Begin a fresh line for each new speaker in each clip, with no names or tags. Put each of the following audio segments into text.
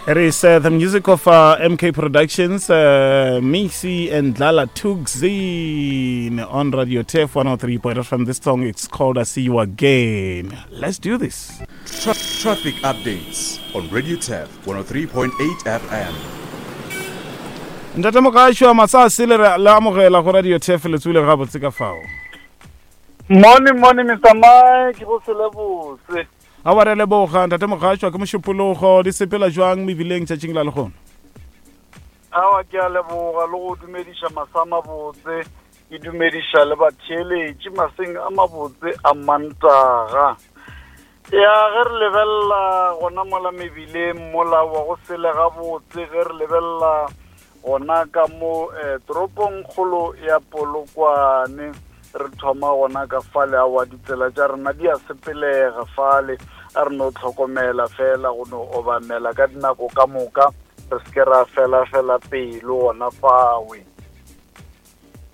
It is the music of MK Productions, Missy and Dlala Tugzin on Radio Turf 103.5 from this song. It's called I See You Again. Let's do this.
Traffic updates on Radio Turf 103.8 FM.
Ntate Mogasho, masase le re le amogela go Radio Turf le tswile gabotse ka fao.
Morning, morning, Mr. Mike, go se le botse.
Aowa, re a leboga, Ntate Mogatšwa. Ke Mošupologo. Di sepela jwang mebileng tšatšing la lehono?
Aowa, ke a leboga le go dumediša masa a mabotse. Ke dumediša le batheeletši maseng a mabotse a Mantaga. Ya, ge re lebelela gona mola mebileng mola wa go sele gabotse, ge re lebelela Gona ka mo eh, toropongkgolo ya Polokwane, re thoma gona ka fale. Aowa, ditsela tša rena di a sepelega fale, a re no hlokomela fela go no obamela ka dinako ka moka, re se ke ra fela-fela pelo gona fawe.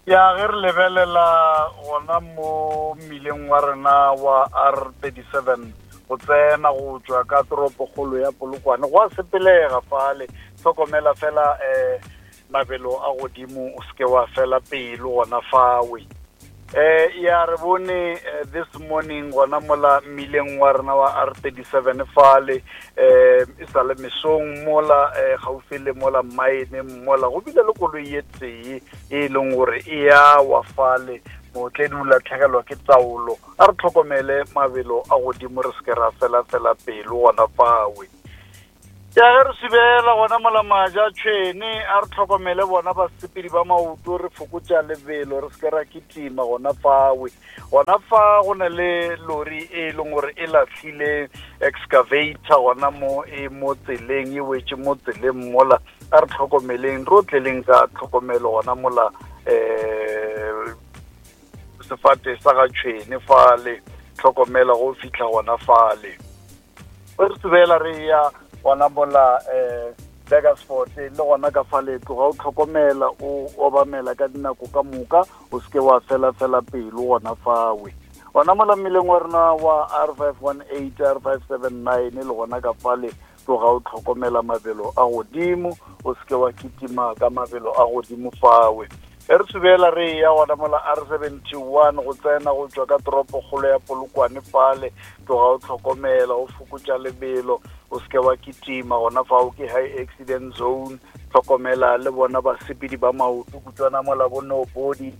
Ya, ge re lebelela gona mo mmileng wa rena wa R37 go tsena go tšwa ka toropokgolo ya Polokwane, go a sepelega fale. Hlokomela fela um mabelo a godimo, o seke wa fela pelo gona fawe. Eh ya re bone eh, this morning gona mola mmileng wa rena wa R37 fale eh e sa le mesong mola eh gaufi le mola mine mola go bile le koloi ye tee e leng gore e ya wa fale mootledi o latlhegelwa ke taolo. A re tlhokomele mabelo a godimo, re seke ra fela fela pelo gona fawe. Ya ge re subela gona mola maja tšhwene, a re tlhokomele bona basepedi ba maoto, re fokotša lebelo, re seke ra kitima gona fawe. Gona fa go na le lori e leng gore e lahlile excavator gona mo e mo tseleng, e wetše mo tseleng mola. A re tlhokomeleng, re otleleng ka tlhokomelo gona mola um sefate sa ga tšhwene fale, tlhokomela go fihla gona fale. Re tsebela re ya gona mola um Burgersfort le gona ka fale, tloga o tlhokomela, o obamela ka dinako ka moka, o seke wa fela fela pelo gona fawe. Gona mola mmileng wa rena wa R518, R579 le gona ka fale, tloga o tlhokomela mabelo a godimo, o seke wa kitima ka mabelo a godimo fawe. Ge re subela re eya gona mola R71 go tsena go tšwa ka toropokgolo ya Polokwane fale, tloga o tlhokomela, o fokotša lebelo, o se ke wa kitima gona fao, ke high accident zone. Tlhokomela le bona basepedi ba maoto kutšwana mola bo Nobody,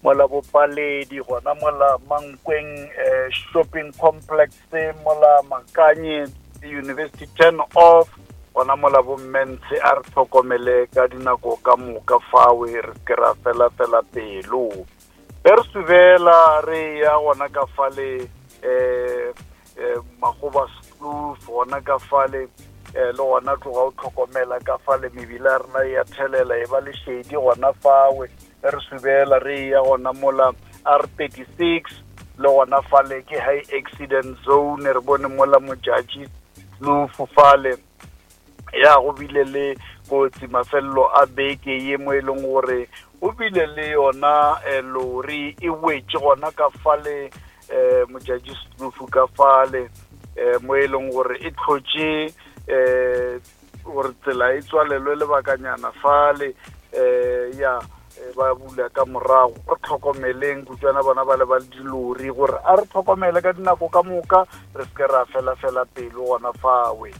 mola bo Paledi, gona mola Mankweng eh, shopping complex. Se mola Makanye University turn off gona mola bo Mmentshe, a re tlhokomele ka dinako ka moka fawe, re ke ra fela fela pelo. Ge re subela re ya gona ka fale eh eh Magoba Kloof gona ka fale eh le gona tloga o tlhokomela ka fale, mebila ya rena ya thelela e ba lešedi gona fawe. Ge re subela re ya gona mola R36 le gona fale ke high accident zone, re bone mola Modjadji Kloof fale ya go bile le kotsi mafelelo a beke ye mo e leng gore o bile le yona eh, lori e wetše gona ka fale eh, Modjadji Kloof ka fale eh, mo e leng gore e tlhotše eh, gore tsela e tswalelwe lebakanyana fale um ya eh, ba bula ka morago. Re tlhokomeleng kutswana bona ba le ba dilori gore a re tlhokomele ka dinako ka moka, re seke ra fela fela pelo gona fawe.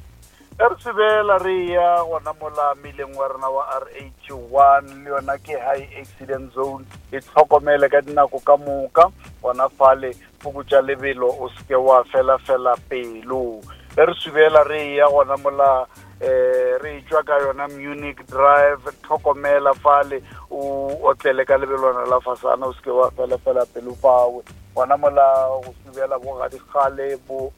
Ge re sebela re ya gona mola mileng wa rena wa R81 le yona ke high accident zone, e tlhokomele ka dinako ka moka gona fale, fokotša lebelo, o seke wa fela fela pelo. Ge re subela re eya gona mola eh re etšwa ka yona Munich Drive, tlhokomela fale, o otlele ka lebelwana la fasana, o seke wa fela fela pelo fawe. Gona mola go subela bo gadikgale bo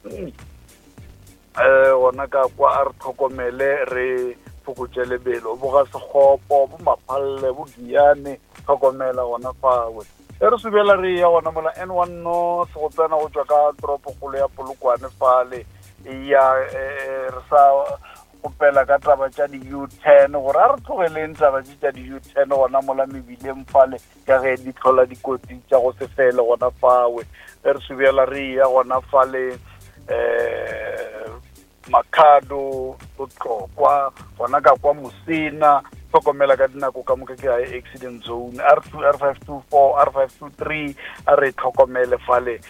eh gona ka kwa, a re tlhokomele re fokotše lebelo, bo ga Sekgopo, bo Maphalle, bo Giyane, tlhokomela gona fawe. E re subela re ya gona mola N1 North go tsena go tšwa ka toropokgolo ya Polokwane fale, ya eh, re sa gopela ka taba tša di-U-turn gore a re tlogeleng taba tše tša di-U-turn gona mola mebileng fale, ka ge di tlhola dikotsi tša go se fele gona fawe. Ge re subela re ya gona fale um Makhado, Botlokwa, gona ka kwa Mosena, hlokomela ka dinako ka moka ke high accident zone. R2, R524, R523, a re tlhokomele fale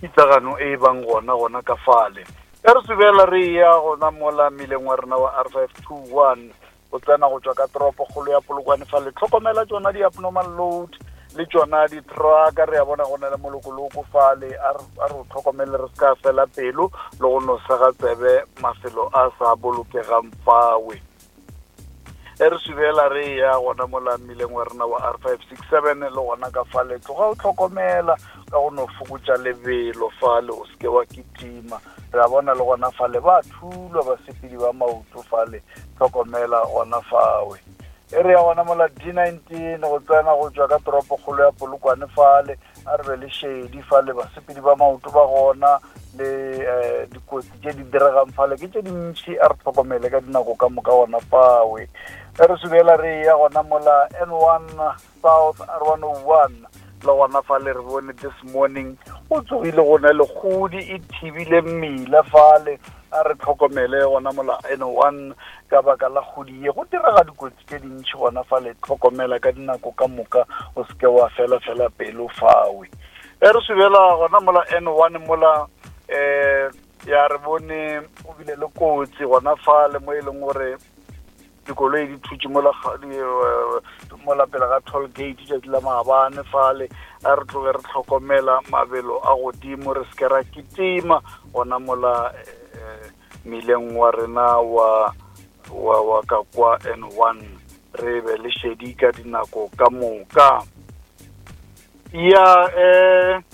pitlagano e bang gona gona ka fale. Ge re subela re ya gona mola mmileng wa rena wa R521 go tsena go tšwa ka toropokgolo ya Polokwane fale, tlhokomela tšona di-abnormal load le tšona di-trucka, re a bona go na le molokoloko fale, a re o tlhokomele re se ka fela pelo le go no sega tsebe mafelo a sa bolokegang fawe. E re subela re ya gona mola mmileng wa rena wa R567 le gona ka fale, tloga o tlhokomela ka go no fokotša lebelo fale, o seke wa kitima. Re a bona le gona fale ba thulwa basepedi ba maoto fale, tlhokomela gona fawe. E re ya gona mola D19 go tsena go tšwa ka toropokgolo ya Polokwane fale, a re be le šedi fale, basepedi ba maoto ba gona le eh, dikotsi tše di diregang fale ke tše dintši, a re tlhokomele ka dinako ka moka gona fawe. E re subela re ya gona mola N1 South R101 le gona fale re bone this morning o tsogile go na le kgodi e thibile mmila fale, a re tlhokomele gona mola N1 ka baka la kgodi ye, go direga dikotsi tše dintši gona fale, tlhokomela ka dinako ka moka, o seke wa fela fela pelo fawe. E re subela gona mola N1 mola um ya re bone go bile le kotsi gona fale mo e leng gore dikoloi di thutše mola mola pele ga toll gate tšatši la maabane fale, a re tloge re tlhokomela mabelo a godimo, re seke ra kitima gona mola mmileng wa rena wa wa wa ka kwa N1, re be le šedi ka dinako ka moka. Ya re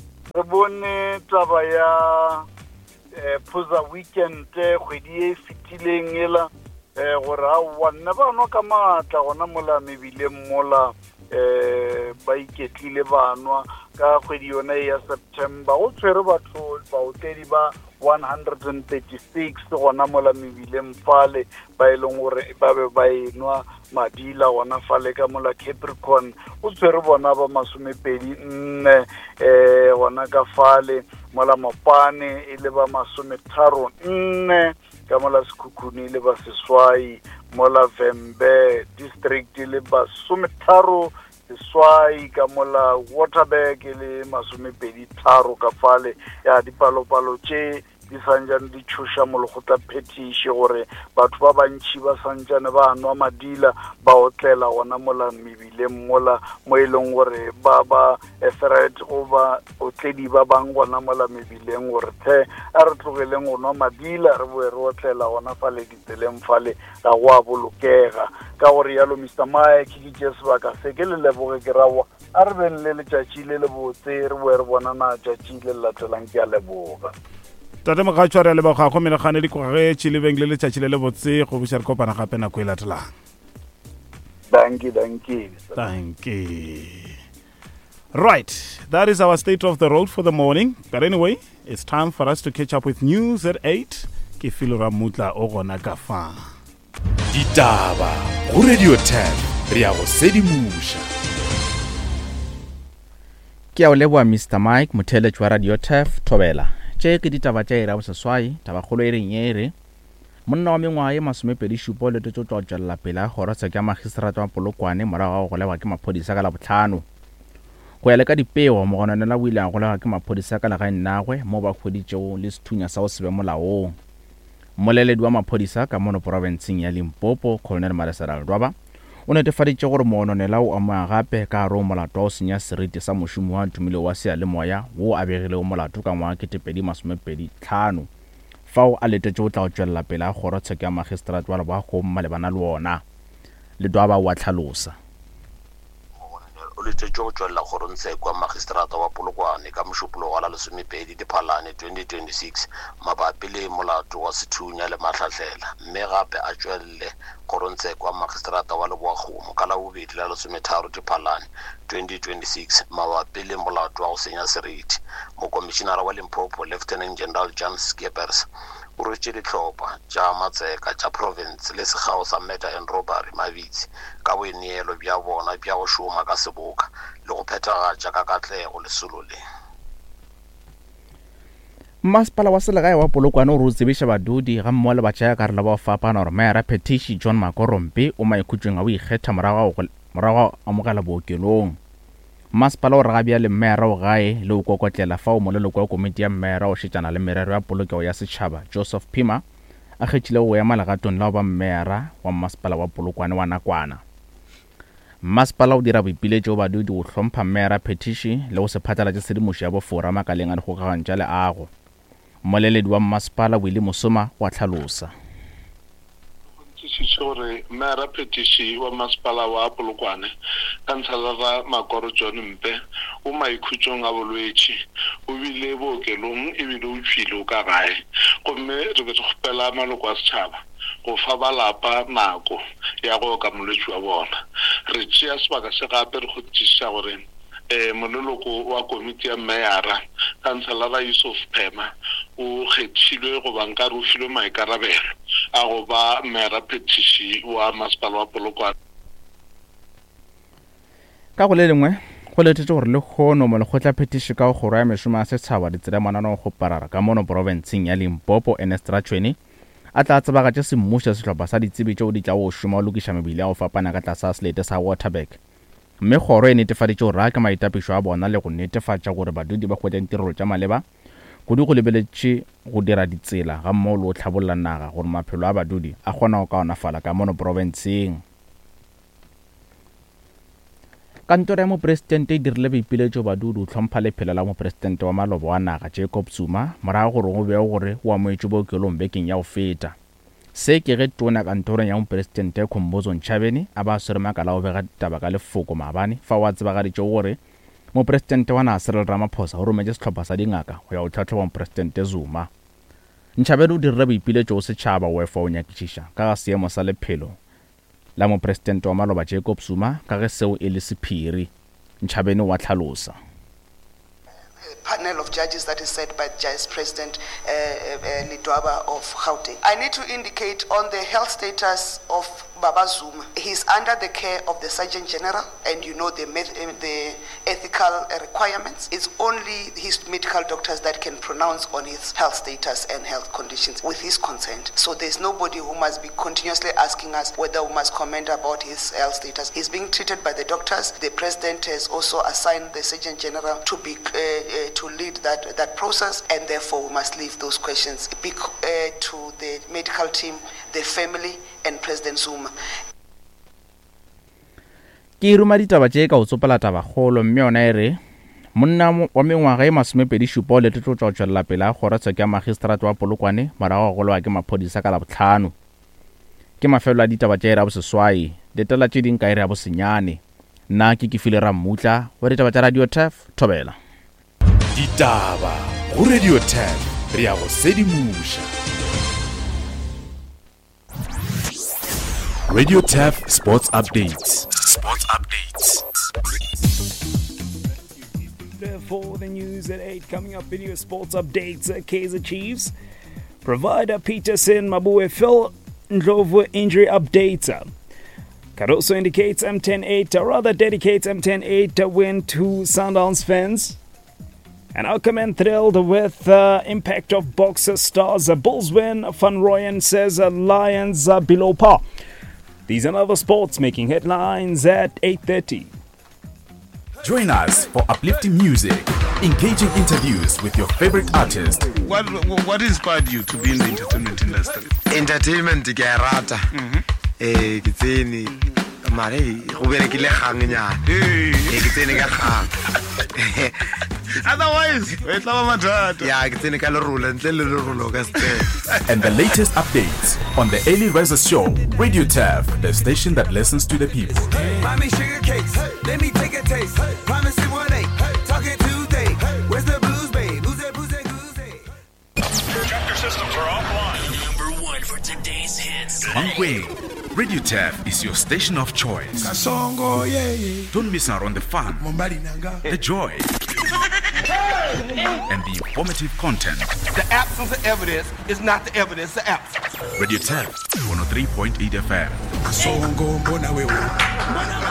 bone taba ya Phuza weekend kgwedi e fetileng ela gore aowa nne ba nwa ka maatla gona mola mebileng mola ba iketlile ba nwa ka kgwedi yona e ya September, go tshwere batho baotledi ba 136 gona mola mebileng fale ba e leng gore ba be ba enwa madila gona fale ka mola Capricorn, go tshwere bona ba 24 gona ka fale mola Mopane e le ba 34, ka mola Sekhukhune e le ba 8, mola Vhembe district e le ba 38, ka mola Waterberg e le 23 ka fale. Ya dipalopalo tše di santšane di tšhoša molekgotla phetiši gore batho ba bantši ba santšane ba nwa madila ba otlela gona mola mebileng mola mo e leng gore ba ba threat go ba otledi ba bang gona mola mebileng gore the a re tlogeleng go nwa madila re boe re otlela gona fale ditseleng fale, ga go a bolokega. Ka gore yalo Mr Mike ke tše sebaka se ke le leboge ke rawa, a re beng le letšatši le lebotse, re boe re bonana tšatši le le latelang. Ke a leboga.
Tate Mogatšwa, re a leboga go menagane dikogetše le beng le letšatši le lebotse, go buša re kopana gape nako e latelang.
Dankie, dankie.
Dankie. Right, that is our state of the road for the morning. But anyway, it's time for us to catch up with news at 8. Ke Filo Ramutla o gona ka fa.
Ditaba go Radio 10 re ya go sedimoša.
Ke a o leboa Mr Mike, motheeletši wa Radio Turf, Thobela. Tše ke ditaba tša iri ya boseswai, tabakgolo e reng ye e re, Monna wa mengwaga ye masomepedi-šupa o letetšwe go tšwa go tšwelela pele ga kgorotsheko ya magistrata wa Polokwane morago ga go golegwa ke maphodisa ka Labohlano. Go ya le ka dipego, mogononelwa o ile a golegwa ke maphodisa ka legaeng lagwe moo ba hweditšego le sethunya sa go se be molaong. Mmoleledi wa maphodisa ka mono porofenseng ya Limpopo, Colonel Malesela Ledwaba, o netefaditše gore mogononelwa o amoga gape ka gare go molato wa go senya seriti sa mošomi wa tumile wa seyalemoya wo a begilego molato ka ngwaga 2025 fao a letetše go tla go tšwelela pele ga kgorotsheko ya magistrate wa Leboakgong malebana le wona. Ledwaba o a hlalosa.
Mogononel o letetšwe go tšwelela kgorongtsheko ya magistrata wa Polokwane ka Mošupologo wa la lesomepedi Diphalane 2026 mabapi le molato wa sethunya le mahlahlela mme gape a tšwelele kgorongtsheko ya magistrata wa Leboakgomo ka Labobedi la lesometharo Diphalane 2026 mabapi le molato wa go senya seriti. Mokomišinara wa Limpopo Lieutenant General Jan Scheepers o rwetše dihlopha tša matseka tša profense le sekgao sa Murder and Robbery mabitsi ka boineelo bja bona bja go šoma ka seboka le go phethagatša ka katlego lesolo le.
Mmasepala wa selegae wa Polokwane o re o tsebiša badudi gammogo le batšeakarolo ba go fapana gore Meyara Phethiši John Makorompe o maikhutšong a go ikgetha morago ga go amogela bookelong. Mmasepala o re ga bjale Meyara o gae le o kokotlela fao moleloko wa komiti ya Meyara o šetšana le merero ya polokego ya setšhaba Joseph Phima a kgethilego go ema legatong la go ba Meyara wa Mmasepala wa Polokwane wa nakwana. Mmasepala o dira boipiletšo go badudi go hlompha Meyara Phethiši le go se phatlalatše tshedimošo ya bofora makaleng a dikgokaganyo tša leago. Mmoleledi wa mmasepala Willie Mosoma o a hlalosa.
Kgonthišiše gore Meyara Phethiši wa Masepala wa Polokwane, Khanselara Makoro John Mpe, o maikhutšong a bolwetši, o bile bookelong ebile o tšwile o ka gae gomme re be re kgopela maloko a setšhaba go fa ba lapa nako ya go oka molwetši wa bona. Re tšea sebaka se gape re kgonthišiša gore moleloko wa komiti ya meyara, Khanselara Yusuf Phema, o kgethilwe goba nka re o filwe maikarabelo a go ba meyara phethiši wa masepala wa Polokwane.
Ka go le lengwe, go letetšwe gore lehono Molekgotlaphethiši ka go Kgoro ya Mešomo ya Setšhaba, Ditsela Mananeo-kgoparara ka mono profenseng ya Limpopo, Ernest Ratšhweni, a tla tsebagatše semmušo sehlopha sa ditsebi tšeo di tlago go šoma go lokiša mebila ya go fapana ka tlase ga selete sa Waterberg. Mme kgoro e netefaditše gore a ke maitapišo a bona le go netefatša gore badudi ba hwetša ditirelo tša maleba, kudu go lebeletše go dira ditsela gammogo le go hlabolla naga gore maphelo a badudi a kgone go kaonafala ka mono profenseng. Kantoro ya Mopresidente e dirile boipiletšo badudi go hlompha lephelo la Mopresidente wa maloba wa naga Jacob Zuma morago gore go begwe gore o amogetšwe bookelong bekeng ya go feta. Se ke ge Tona kantorong ya Mopresidente Khumbudzo Ntshavheni a ba a swere makala a go bega ditaba ka lefoko maabane fao a tsebagaditšego gore Mopresidente wa naga Cyril Ramaphosa o rometše sehlopha sa dingaka go ya go hlahloba Mopresidente Zuma. Ntshavheni o dirile boipiletšo go setšhaba go efa go nyakišiša ka ga seemo sa lephelo la Mopresidente wa maloba Jacob Zuma ka ge seo e le sephiri, Ntshavheni o a hlalosa.
panel of judges that is set by Judge President uh, uh, Ledwaba of Gauteng. I need to indicate on the health status of Baba Zuma. He's under the care of the Surgeon General, and you know the, the ethical requirements. It's only his medical doctors that can pronounce on his health status and health conditions with his consent. So there's nobody who must be continuously asking us whether we must comment about his health status. He's being treated by the doctors. The president has also assigned the Surgeon General to be uh, uh, to lead that, that process, and therefore we must leave those questions uh, to the medical team, the family, and President Zuma.
Ke ruma ditaba tše ka go tsopola tabakgolo mme yona e re monna wa mengwaga e masomepedi-šupa o letetšwe go tšwa go tšwelela pele ga kgorotsheko ya magistrate wa Polokwane morago ga go golewa ke maphodisa ka Labohlano. Ke mafelelo a ditaba tša iri ya boseswai. Letela tše ding ka iri ya bosenyane. Nna ke Kefile Rammutla wa ditaba tša Radio Turf, Thobela.
Ditaba go Radio Turf, re ya go sedimoša. Radio Turf Sports Updates. Sports Updates.
For the news at 8, coming up in your sports updates, Kaizer Chiefs provider Peterson Maboe Phil Ndlovu injury updates. Cardoso indicates MTN8, or rather dedicates MTN8 win to Sundowns fans. And Ackerman thrilled with uh, impact of boxer stars. Bulls win. Van Rooyen says uh, Lions uh, below par. These and other sports making headlines at 8.30.
Join us for uplifting music, engaging interviews with your favorite artist.
What, what inspired you to be in the entertainment industry?
Entertainment ke a rata. Mhm. Eh ke tsene mare go berekile gang nyana. Eh ke tsene ka gang.
Otherwise, e tla ba mathata.
Ya ke tsene ka lerolo ntle le lerolo ka se
And the latest updates on the Early Riser Show, Radio Turf, the station that listens to the people.
Mommy sugar cakes, let me take a taste. Promise it one eight, talking Tuesday. Where's the booze, babe? Who's that booze, that goose,
Chapter systems are offline. Number one for today's hits.
Mankweng, Radio Turf is your station of choice.
Kasongo, yeah, yeah.
Don't miss out on the fun, the joy, and the informative content.
The absence of evidence is not the evidence of absence.
Radio Turf, 103.8 FM.
Kasongo, mbona wewe.